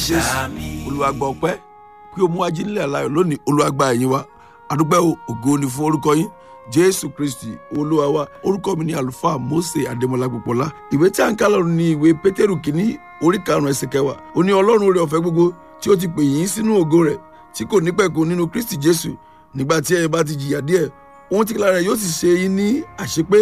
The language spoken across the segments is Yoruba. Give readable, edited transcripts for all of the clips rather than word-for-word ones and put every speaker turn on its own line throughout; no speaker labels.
Jésù. Olúwa gba ọpẹ́ pé o mú ajínigbé aláyọ̀ lónìí. Olúwa gba ẹ̀yìn wa. Adúpẹ́ o, ògo ni fún orúkọ yín, Jésù Kristi Olúwa wa. Orúkọ mi ni Àlùfáà Mósè Adémọlá Gbọpọlá. Ìwé tí a ń kà lọ́rùn ni ìwé Pétérù kìíní, orí 5, ẹsẹ̀ 10. Ó ní Ọlọ́run oore ọ̀fẹ́ gbogbo tí ó ti pè yín sínú ògo rẹ̀ tí kò ní pẹ̀kun nínú Kristi Jésù, nígbà tí ẹ̀yin bá ti jìyà díẹ̀, ohun tí lára rẹ̀ yóò sì ṣe yín ní àṣepé,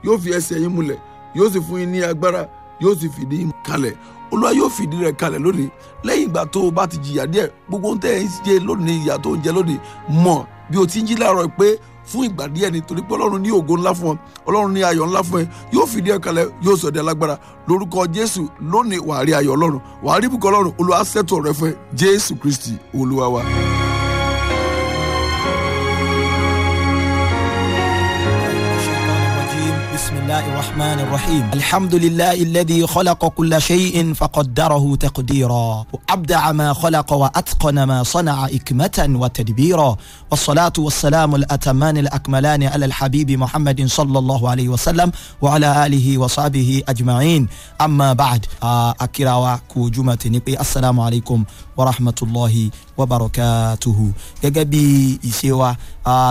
yóò fi ẹsẹ̀ yín múlẹ̀, yóò sì fún yín ní agbára, yóò sì fìdí yín kalẹ̀. Olúwa yóò fìdí rẹ̀ kalẹ̀ lónìí lẹ́yìn ìgbà tó o bá ti jìyà díẹ̀. Gbogbo ohun tẹ́ ẹ̀ ń jẹ lónìí, ìyà tó ń jẹ lónìí, mọ̀ bí o ti ń jí láàárọ̀ pé fún ìgbà díẹ̀ ni, torí pé Ọlọ́run ní ògo ńlá fún ọ, Ọlọ́run ní ayọ̀ ńlá fún ẹ. Yóò fìdí ẹ kalẹ̀, yóò sọ di alágbára lórúkọ Jésù. Lónìí, wàá rí ayọ̀ Ọlọ́run, wàá rí ibùkún Ọlọ́run. Olúwa ṣètò rẹ fún ẹ. Jésù Kristi Olúwa wa.
بسم الله الرحمن الرحيم. الحمد لله الذي خلق كل شيء فقدره تقديرا، وأبدع ما خلق وأتقن ما صنع إكمة وتدبيرا، والصلاة والسلام الأتمان الأكملان على الحبيب محمد صلى الله عليه وسلم وعلى آله وصحبه أجمعين. أما بعد، أكراوا كوجمة نبي، السلام عليكم ورحمة الله وبركاته. Gẹ́gẹ́ bí ìṣe wa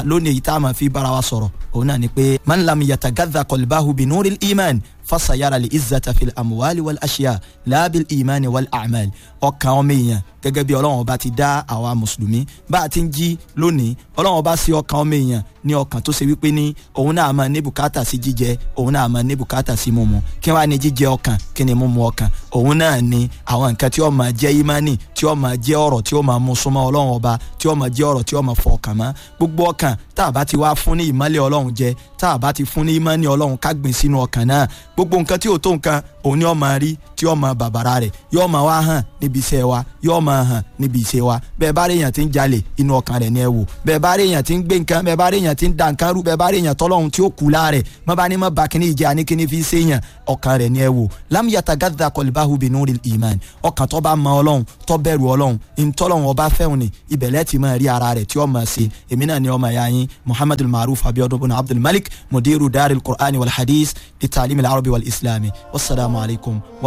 lónìí, tá a máa fi bára wa sọ̀rọ̀ òun náà ni pé man lam yatagadha qalbahu binuril iman fasayara li izzata fil amuwali wal ashiya laabil imani wal amal. Ọkàn ọmọ èèyàn, gẹ́gẹ́ bí Ọlọ́run Ọba ti dá àwa mùsùlùmí bá a ti ń jí lónìí, Ọlọ́run Ọba sí ọkàn ọmọ èèyàn ní ọkàn tó ṣe wípé ní òun náà máa ní bùkátà sí jíjẹ, òun náà máa ní bùkátà sí mímu. Kí wàá ní jíjẹ ọkàn? Kí ni mímu ọkàn? Òun náà ni àwọn nǹkan tí ó máa jẹ́ ìmánì, tí ó máa jẹ́ ọ̀rọ̀ tí ó máa mú súnmọ́ Ọlọ́run Ọba, tí ó máa jẹ́ ọ̀rọ̀ tí ó máa fọ ọkàn mọ́. Gbogbo ọkàn tá a bá ti wá fún ní ìmọ́lẹ̀ Ọlọ́run jẹ, tá a bá ti fún ní ìmọ́ni Ọlọ́run ká gbìn sínú ọkàn náà, gbogbo nǹkan tí ò tó nǹkan òun ni ó máa rí, tí ó máa bàbàrà rẹ̀, yóò máa wá hàn níbi iṣẹ́ wa, yóò máa hàn níbi iṣẹ́ wa. Bẹ́ẹ̀ bá rí èèyàn tí ń jalè, inú ọkàn rẹ̀ ni ẹ wò. Bẹ́ẹ̀ bá rí èèyàn tí ń gbé nǹkan, bẹ́ẹ̀ bá rí èèyàn tí ń da nǹkan rú, bẹ́ẹ̀ bá rí èèyàn tọ́lọ́hun tí ó kú láàrẹ̀, má bá ní má ba kíní ìjẹ́ àní kíní fi ṣe èèyàn, ọkàn rẹ̀ ni ẹ wò. Lam yatagadda qalbahu binuril iman. Ọkàn tó bá mọ Ọlọ́run, tó bẹ̀rù Ọlọ́run, ìtọ́lọ́run ọba fẹ́hùn ni ibẹ̀lẹ́ ti máa rí ara rẹ̀ tí ó máa ṣe. Èmi náà ni ọmọ ẹ̀yà yín, Muhammadul Maruf Abiodun bin Abdul Malik, mudiru daril Qur'ani wal hadith litaalim al-arabi wal islami. Wasalaamu alaykum.